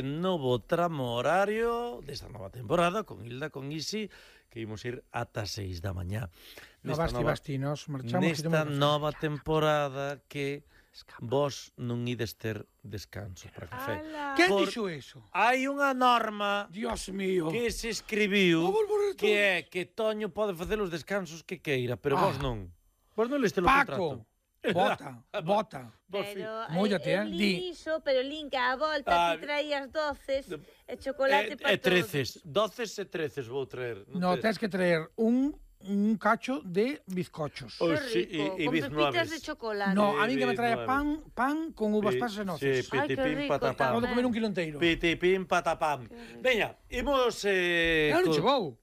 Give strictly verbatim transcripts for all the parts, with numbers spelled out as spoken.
Novo tramo horario desta nova temporada con Hilda, con Isi, que imos ir ata seis da mañá. No basti, basti, nos marchamos. Nesta nova temporada que vos non ides ter descanso para café. Que dixo eso? Hai unha norma, Dios mío, que se escribiu que é que Toño pode facer os descansos que queira, pero ah. vos non. Vos non leste o contrato. Bota, bota. Pero Móllate, eh, di. Iso, pero linka a volta, ah, ti traías doces e chocolate eh, para todos. E treces, doces e treces vou traer. No, tens que traer un un cacho de bizcochos. Oh, sí, rico, y, y con pepitas de chocolate. No, a mí que me trae pan pan con uvas pasas e noces. Sí, pitipín, patapam. Podo comer un kilo inteiro. Pitipín, patapam. Veña, imos... Eh, non chegou.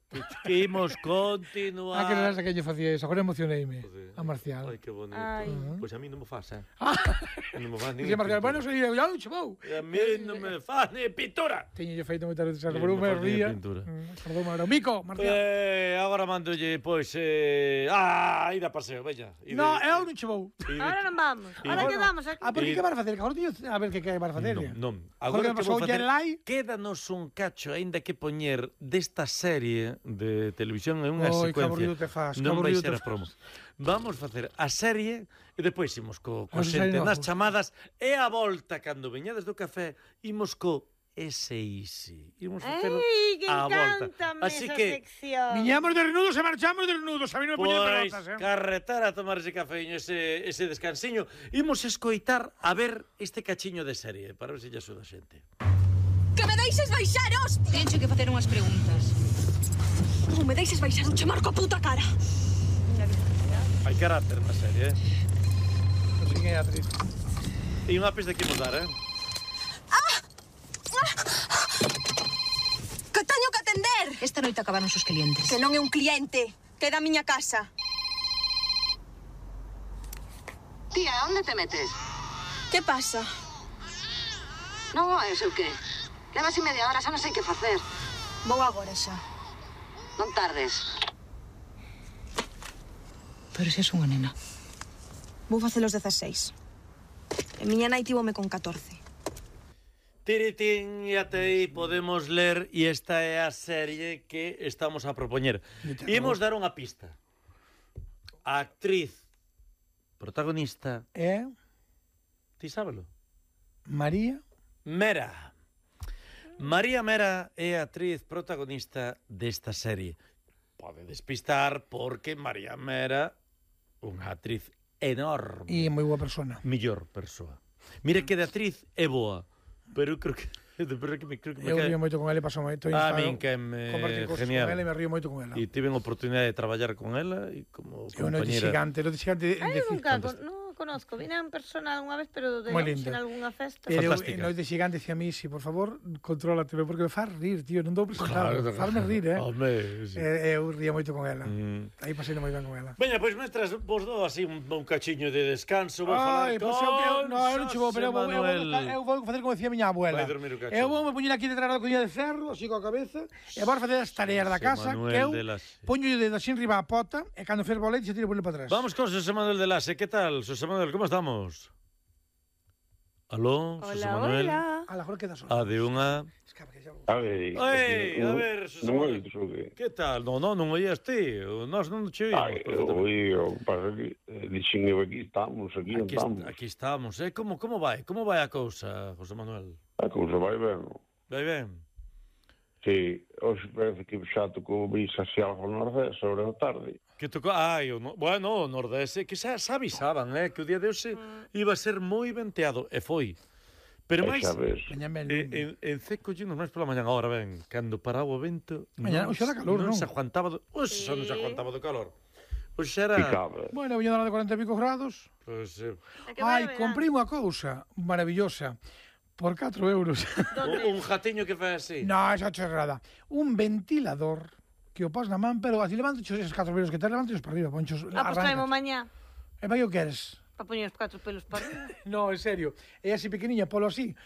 Que imos continuar... Ah, que non era que lle facía eso, agora emocioneime. A Marcial. Ai, que bonito. Pois a mí non me faz, eh? Non me faz ni... Dice Marcial, bueno, soy eu, non chegou. A mí non me faz ni pintura. Teño yo feito moitas veces, por un me ría. Perdón, Maro. Mico, Marcial. Eh, agora mandolle, pois, eh... Ah, ida paseo, veña. No, eu non chegou. Ahora non vamos, ahora quedamos aquí. Ah, pero que vai facer? Agora teño a ver que que vai facer. Non, non. Agora que pasou ya en live. Quédanos un cacho, aínda que poñer desta serie de televisión en unha Oi, secuencia. Faz, non vai ser a promo. Vamos facer a serie e depois imos co, co xente nas chamadas e a volta cando veñades do café imos co ese Easy. Imos facelo a volta. Así que sección. Viñamos de renudos e marchamos de renudos. A mí non me poñen pelotas, eh. Carretar a tomar ese cafeño, ese, ese descansiño. Imos escoitar a ver este cachiño de serie para ver se lle axuda a xente. Que me deixes baixar, hostia! Tencho que facer unhas preguntas. Non me deixes baixar, un chamar coa puta cara. Hai carácter na serie, eh? Non sei que é atriz. E unha pista que imos dar, eh? Ah! Que teño que atender! Esta noite acabaron os clientes. Que non é un cliente, que é da miña casa. Tía, onde te metes? Que pasa? Non oes o que? Levas e media hora, xa non sei que facer. Vou agora xa. Non tardes. Pero se és unha nena. Vou facer os dezaseis. E miña nai tívome con catorce. Tiritín, e até aí podemos ler, e esta é a serie que estamos a propoñer. Imos dar unha pista. A actriz protagonista é... Ti sábelo? María Mera. María Mera é a actriz protagonista desta serie. Pode despistar porque María Mera, unha actriz enorme. E moi boa persona. Millor persoa. Mira que de actriz é boa, pero eu creo que... Pero que me, creo que me eu cae... río moito con ela e paso moito. A min que me genial. Con ela e me río moito con ela. E tive a oportunidade de traballar con ela e como compañera. É un noite xigante, noite xigante. Ai, nunca, non conozco, vine en persona unha vez, pero de en algunha festa. Pero en noite xigante dicía a mí, si, por favor, contrólate, porque me faz rir, tío, non dou presentado. Claro, fazme rir, eh? Home, sí. E eu ría moito con ela. Mm. Aí pasei moi ben con ela. Veña, pois, mentras vos dou así un, un cachiño de descanso, vou falar con pues eu, no, eu non chivo, pero eu vou facer como decía miña abuela. Vai dormir o cacho. Eu vou me poñer aquí detrás da coña de ferro, así coa cabeza, e vou facer as tareas da casa, que eu poño o dedo así enriba a pota, e cando fervo o leite, se tiro por ele para atrás. Vamos con José Manuel de Lase, que tal? José Manuel, como estamos? Aló, hola, José Manuel. Hola, hola. Agora queda só. A de unha... A ver, Oi, a ver, José Manuel. Que tal? Non, non, non oías ti. Nós non te oímos. Ai, oí, o que pasa que dixen eu aquí estamos, aquí non estamos. Aquí estamos, eh? Como, como vai? Como vai a cousa, José Manuel? A cousa vai ben. Vai ben? Sí, hoxe parece que xa tocou brisa así algo no Nordés sobre a tarde. Que tocou, ai, o no... bueno, o Nordés, que xa, xa avisaban, eh, que o día de hoxe mm. iba a ser moi venteado, e foi. Pero máis, en, en Ceco llenos máis pola mañana, agora ben, cando paraba o vento, mañana, non, calor, non, non se aguantaba do, oxe, sí. non se aguantaba do calor. Oxe era... Picaba. Bueno, viña de cuarenta e pico grados. Pues, eh... Ai, comprei unha cousa maravillosa. Por catro euros. un, un jatiño que fai así? No, esa chorrada. Un ventilador que o pos na man, pero así levanto esos catro pelos que te levanto para arriba, ponchos. Ah, pues traemos mañá. E vai o que eres? Para poñer os catro pelos para arriba. No, en serio. É así pequeniña, polo así.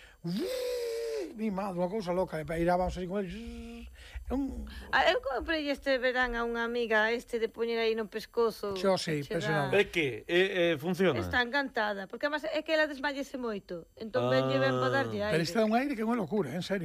Mi madre, unha cousa loca. E irá, vamos así con el. Un... Ah, eu comprei este verán a unha amiga este de poñer aí no pescozo. Xo, sí, impresionante. É que? Eh, eh, funciona? Está encantada, porque además é que ela desmayese moito. Entón, ah. venlle ben para darlle aire. Pero isto é un aire que é unha locura, en serio.